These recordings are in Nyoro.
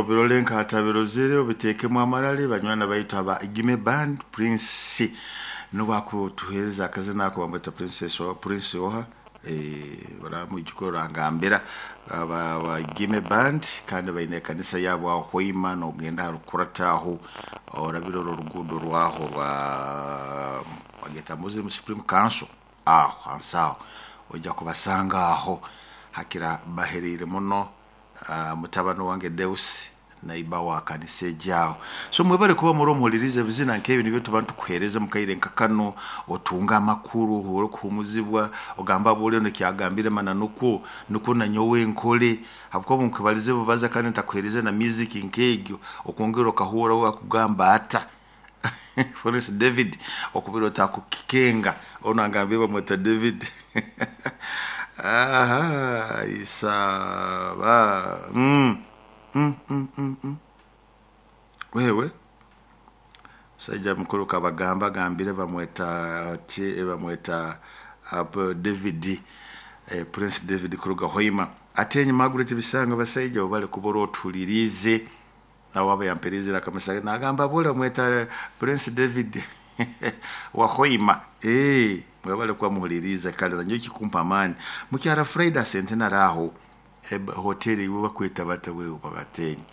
Obirole nkatabirozere obitekemu amarale. Banywana baitu aba Igime Band, Prince nubakutuhereza akazina ako bamweta Princess wa Prince oha baramwijukuru rangambira aba Igime Band, kandi baine ekanisa yabo aho Hoima, nogenda harukurata aho orabira oro oruguudo rwaho rwa bageta Muslim Supreme Council, aho hansi aho ojja kubasanga aho hakira baherire muno. Mutabani wange Deus naiba wa kanisa ejyaho. So mwebale kuba muri omuhuliriza ebizina nkebi nibyo tuba ntukuhereza mukaire nka kano, otunga amakuru, ohure kuhumuzibwa, ogamba bule nekyagambire mana nukwo nukwo nanyowe nkole, habwokuba nkubalize bubaza kandi ntakuhereze na music nkegyo okwongera okahura wakugamba ata Forest David okubira otakukikenga ono angambye bamweta David. Aha isaba Wewe musajja mukuru kabagamba agambire bamweta ati bamweta David, Prince David kuruga Hoima. Ate enyuma Margaret Bisanga basaija bale kubora otulirize nawe aba yamperizira akamusaga nagamba bole mweta Prince David wa Hoima. Mwebale kuba muhuliriza kale nanyo kikumpa amani. Mukyara Friday Centenary aho hoteli iwe bakweta bata wewe babatenyi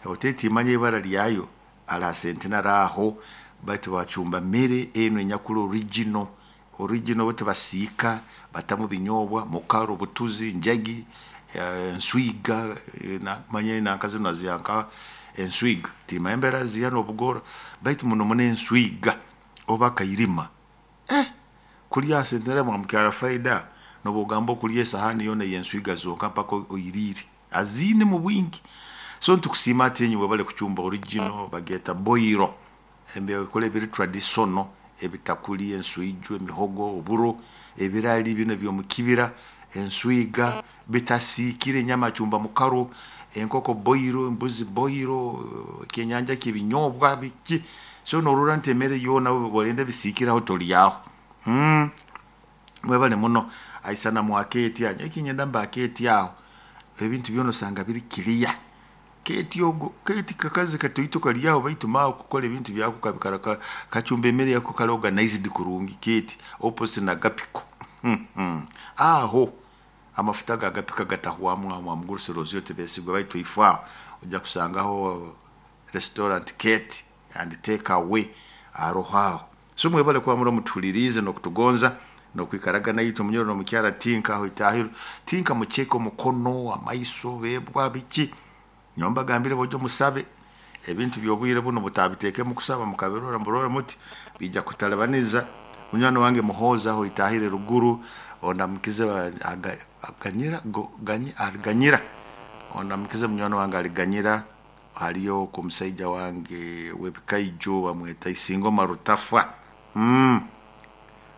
hoteli timanye ibara lyayo ala Centenary aho bati bacumba mere eno enyakula original original bati basiika batamu binyobwa mukaro butuzi njagi, enswiga, na manye nankazi naziyanka enswiga timaembera ziya nobugora baitu muno muno enswiga oba kairima kulya Centenary mwa mukyara faida nobugamba okulya esahani yona yenswiga zonka mpaka oyirire azine mu bwingi. So ntukusima ati enyi webale kuchumba original bageta boiro embe kole biri traditional ebitakuli enswijo emihogo oburo ebirali bino byomukibira enswiga bitasikire nyama chumba mukaro enkoko boiro embuzi boiro kenyanja kibinyobwa biki. So norura ntemere yona bolenda bisikiraho tolyaho. Mwebale muno aisana mwaketi anyo ekinyenda mbaketi aho ebintu byono sanga biri clear keti ogo keti kakazi katoito kalyaho baitu mawo kukola ebintu byako kabikara kachumba emere yako kali organized kurungi keti opposite na gapiko. Aho amafuta gagapika gatahwamu amwa muguruse rozyo tebesigwa baitu ifa ojja kusangaho restaurant Kate and take away aroho. So mwebale kuba muri mutulirize no kutugonza no kwikaraga nayitu munyoro no mukyara tinka aho itahiro tinka mucheko mukono amaiso bebwa biki nyomba gambire bojo musabe ebintu byobwire buno butabiteke mu kusaba mukabirora mburora muti bijja kutalabaniza. Munywani wange muhoza aho itahire ruguru ondamukize aganyira aganyira ondamukize munywani wange aliganyira haliyo ku musaija wange webikaijo bamweta Isingo Marutafa.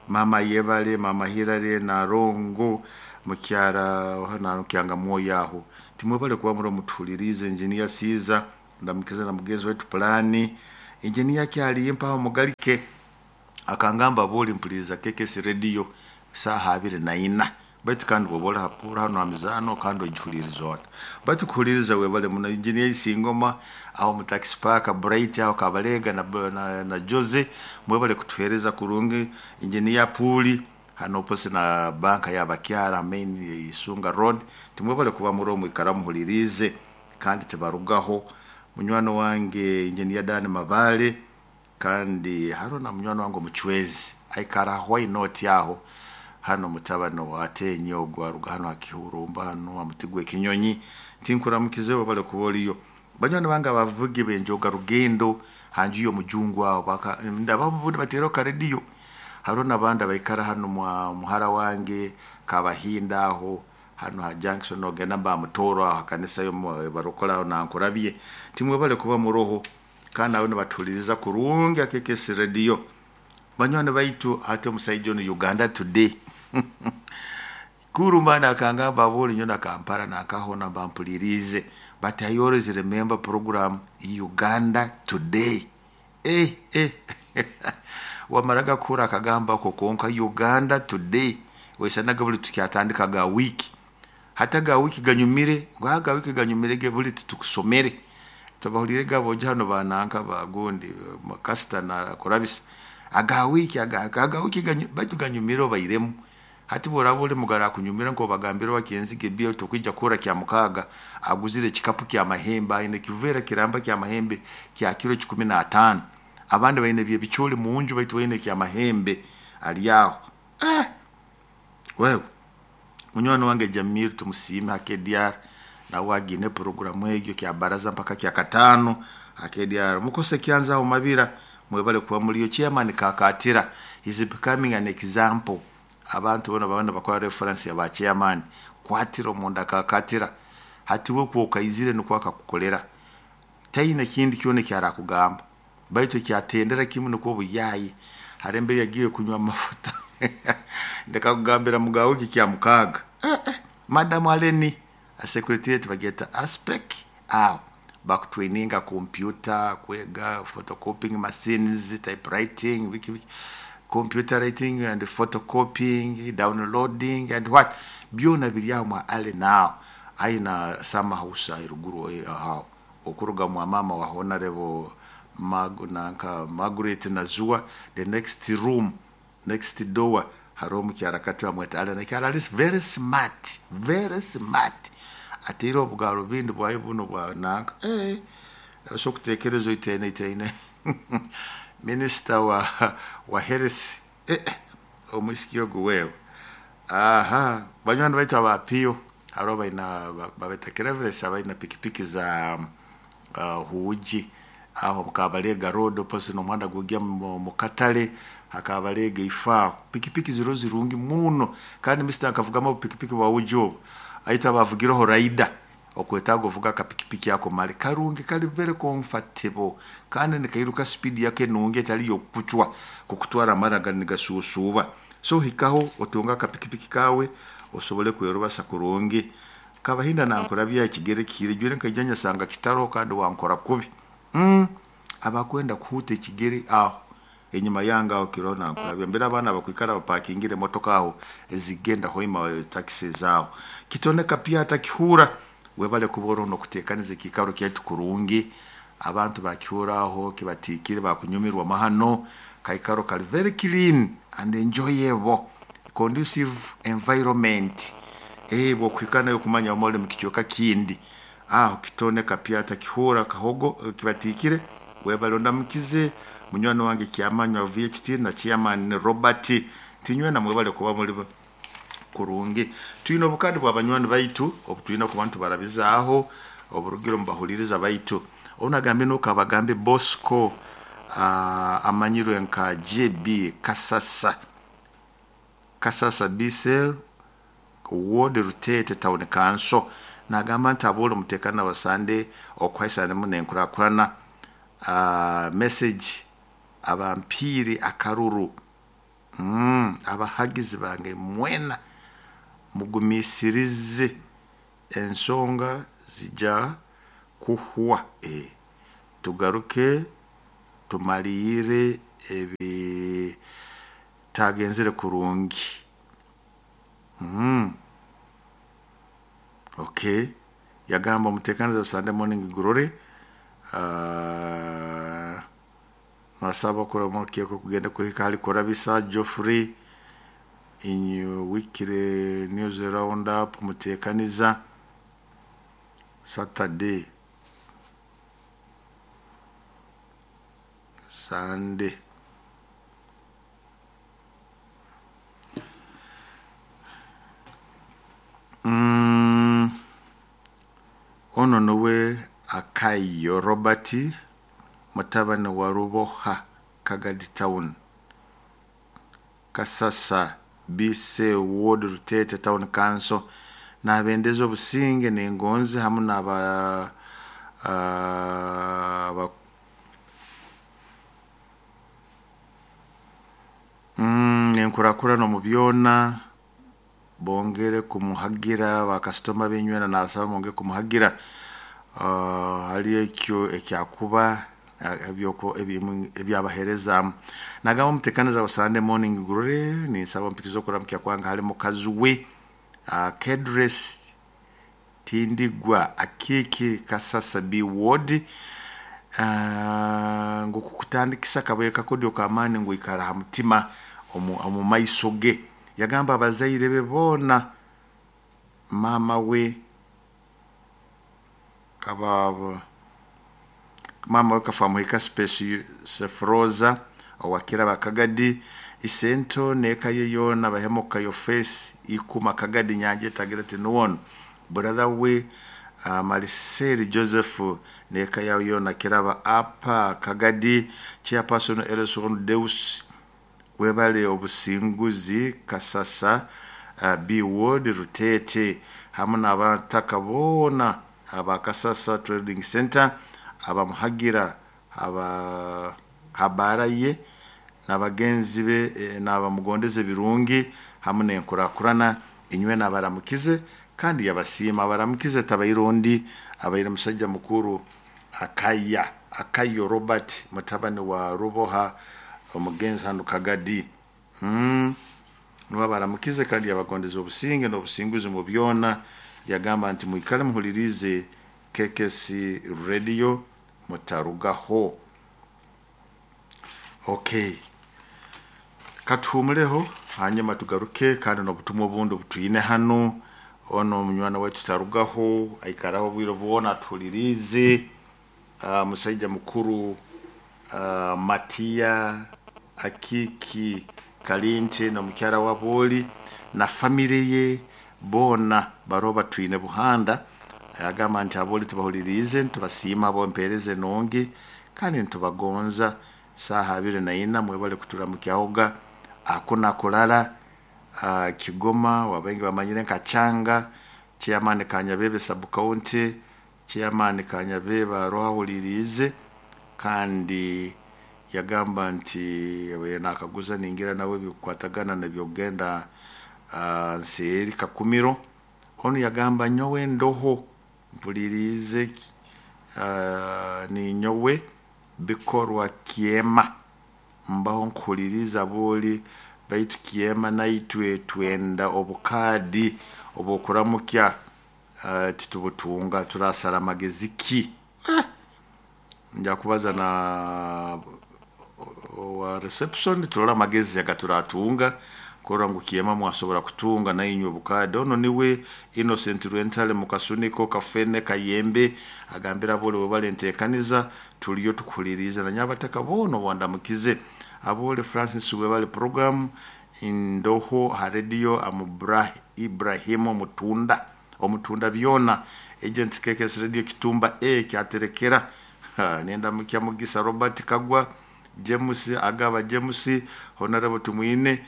Mama yebale mama Hirare na Rongo mukyara hana kyanga mwoyo aho timwebale kuba muri mutulirize. Engineer Siza ndamukize na mugenzi wetu plani engineer kyali mpaho mugalike akangamba boli mpuliriza KKS radio saha 24 baitu kandi bobola hapura hano amizano kandi ojuliriza ota baitu kuhuliriza webale muno engineer Isingoma aho mu taxi park Bright aho Kabalega na Jose mwebale kutuhereza kurungi. Engineer Puli hano pose na banka y'abakyara main Isunga Road timwebale kuba muri mwikara muhulirize kandi tebarugaho. Munywano wange engineer Dan Mabale kandi haro na munywano wange muchwezi aikara why not yaho hano mutabano watenye ogwaruga hano akihurumba hano amutigwe kinyonyi tinkuramukize bale kuboliyo. Banywani bange abavugi benjoga rugendo hanju yo mujungu aho baka ndababundi batero ka radio haro nabandi baikara hano muhara wange kabahinda aho hano ha junction ogenda mba mutoro aho kanisa yo barokola na nkurabye timwe bale kuba muroho kandi abo nibatuliriza kurungi akekesi radio. Banywani baitu ate musaijo no Uganda Today kurumana akangamba boli nyona Kampala nakahona bampulirize but I always remember program Uganda Today. Wamaraga kura akagamba ko konka Uganda Today wesanaga buli tukyatandika ga wiki hata ga wiki ganyumire ngo ga wiki ganyumire ge buli tukusomere. Tubahulirege abojo hano bananka bagundi kasita na kurabisa aga wiki aga wiki baitu ganyumire obairemu. Hati bworaba oli mugara akunyumira nk'obagambira wakenzige bia tokwija kura kya mukaga aguzire ekikapu kya mahembe, aine kivera kiramba kya mahembe kya kiro 15. Abandi baine byebicholi munju baitu baine kya mahembe ali aho. Wewe munywani wange Jamil tumusiime ha KDR, nawe agine programu egyo kya baraza mpaka kya katano ha KDR. Mukose kyanza aho mabira mwebale kuba muliyo. Chairman Kakatira is becoming an example. Abantu bona babana bakora reference ya ba chairman kwatira omunda Kakatira hati we kwokaizire nukwo akakukolera taina kindi kyona kyarakugamba baitu kyatendera kimu nukwo buyayi harembe yagiye kunywa amafuta ndakakugambira mugawe wiki kya mukaga. Madam Aleni a secretariat bageta aspect aho bakutraininga computer, kwega photocopying machines, typewriting, wiki wiki, computer writing and photocopying, downloading and what byona biri aho mwa Allen aho aina sama house eruguru aho okuruga mwa mama wa honorable nanka Margaret Nazua, the next room, next door hariho omukyara kati bamweta Allen. Kyara is very smart, very smart. Ateire obugaro bindi bwayo buno bwa nanka so kutekereza iteine iteine minister wa health omwisiki ogu wewe. Aha banywani baitu abapiyo hariho baina babeta Cleverest abaina pikipiki za huuji aho mukabalega road opposite n'omuhanda gugya mu katale hakabalega ifaaho pikipiki ziro zirungi muno kandi Mr. Nkavugamo pikipiki bwa huuji obu aita bavugireho rider okwetaga ovuga akapikipiki ako mali karungi kali very comfortable kandi nikairuka speed yake nungi etali yokucwa kukutwara amara nigasusuba. So hikaho otunga akapikipiki kawe osobole kwerubasa kurungi. Kabahinda nankurabya ekigere kire jwire nkaija nyasanga kitaro kandi wankora kubi. Abakwenda kuhuta ekigere aho enyuma yange aho kiro nankurabya mbere abana bakwikara bapakingire motoka aho ezigenda hoima taxi zao kitoneka pia atakihura webale kubora no kutekaniza ekikaro kyaitu kurungi abantu bakihuraho kibatikire bakunyumirwa mahano kaikaro kali very clean and enjoyable conducive environment. Bwokwikana yo kumanya omole mukichoka kindi aho kitoneka pia atakihura kahogo kibatikire webale ndamukize munywani wange kyamanywa VHT na chairman Robert tinywe na mwebale kuba muri kurungi. Twine obukadi bwa banywani baitu obutwina ku bantu barabizaaho oburugiro mbahuliriza baitu onagambe nukabagambe Bosco amanyirwe nka JB Kasasa Kasasa Bisel Ward Rutete Town Council nagamba nti abole mutekana basande okwaisana munenkurakwana message abampiri akaruru abahagizi bange mwena mugumisirize ensonga zija kuhwa tugaruke tumalire ebi tagenzere kurungi. Okay, yagamba mutekaniza Sunday morning glory. Nasaba kura kugenda kuhika hali kurabisa Geoffrey in weekly news roundup mutekaniza Saturday Sunday. Ono nowe Akayo Robert mutabani wa Ruboha Kagadi Town Kasasa BC Ward Rutete Town Council nabendeza obusinge nengonzi hamu naba enkurakurano mu byona bongere kumuhagira bakasitoma benywena nasaba bongere kumuhagira hali ekyo ekyakuba ebyoko ebyabahereza nagamba mutekaniza wa Sunday morning glory ni saba mpikizo kuramkia kwanga hali mukazi we Kedres Tindigwa Akiki Kasasa B Ward, ngu kukutandikisa kabaye kakodyo k'amaani ngu ikara ha mutima omu maiso ge. Yagamba abazaire be boona, maama we kaba maama we Kafamuhika Sefroza owakiraba Kagadi, isento n'eka ye yoona bahemuka Yofesi Ikuma Kagadi Nyanja Etagira Nuwono, brother we Mariseli Joseph n'eka yawe yoona Kiraba Apa Kagadi, chairperson Elson Deus webale obusinguzi Kasasa B Ward Rutete, hamu n'abataka boona aba Kasasa Trading Center abamuhagira aba habara ye n'abagenzi be, n'abamugondeza ebirungi hamu n'enkurakurana. Inywe nabaramukize kandi yabasiima. Abaramukize tabaire ondi, abaire musajja mukuru Akaya Akayo Robert, mutabani wa Ruboha omugenzi hanu Kagadi. Niwe abaramukize kandi yabagondeza obusinge n'obusinguzi mu byona. Yagamba nti mwikale muhulirize KKC Radio mutarugaho. Okay, katuhumuleho hanyuma tugaruke kandi n'obutumwa obundi obutwine hanu. Ono omunywana waitu tarugaho, aikaraho obwire bwona atuhuliriize. Musaija mukuru Matiya Akiki Kalinte n'omukyara wa Booli na famire ye boona baroho batwine Buhanda. Agamba nti abooli tubahuliriize, nitubasiima ab'empeereza enungi kandi nitubagonza. Saaha 24 mwebale kuturamukyahoga akuna kurara Kigoma wabaingi bamanyire nka Changa, chairman Kanyabebe sub county, chairman Kanyabebe aroho ahuliriize. Kandi yagamba nti nakaguza ningira nawe bikukwatagana nebyokugenda nseeri Kakumiro. Onu yagamba nyowe ndoho mpuliriize, ninyowe bikorwa kyema mbaho nkuhuliriza booli, baitu kyema naitwe twenda obukaadi obwokuramukya, titubutunga, turasara amagezi ki? Nja kubaza na wa reception turole amagezi agaturatunga kurora ngu kyema mwasobora kutunga nainywe obukaadi. Ono niwe Innocent Rwentale Mukasuniko Kafene Kayembe, agambira abooli webale enteekaniza, tuliyo tukuhuliriize. Na nyabataka boona owandamukize abooli Francis webale program indoho ha radio amubra Ibrahimu Omutunda Omutunda byona agent KKS Radio Kitumba A kyaterekera. Nenda mukya Mugisa Robert Kagwa James Agaba James Honorable Tumwine,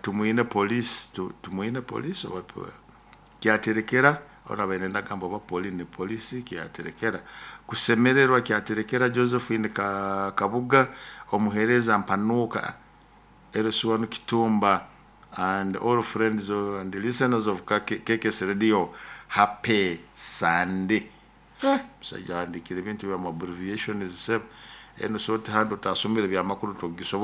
Tumwine police, Tumwine police oba kyaterekera ona baine ndagamba oba poli ni polisi kyaterekera kusemererwa kyaterekera Josephine Kabuga omuhereza Mpanuka Erisuwanu Kitumba and all friends and listeners of KKS Radio, happy Sunday. Musajja andikire ebintu bya abbreviations seb eno short hand utasomere byamakuru togisobora.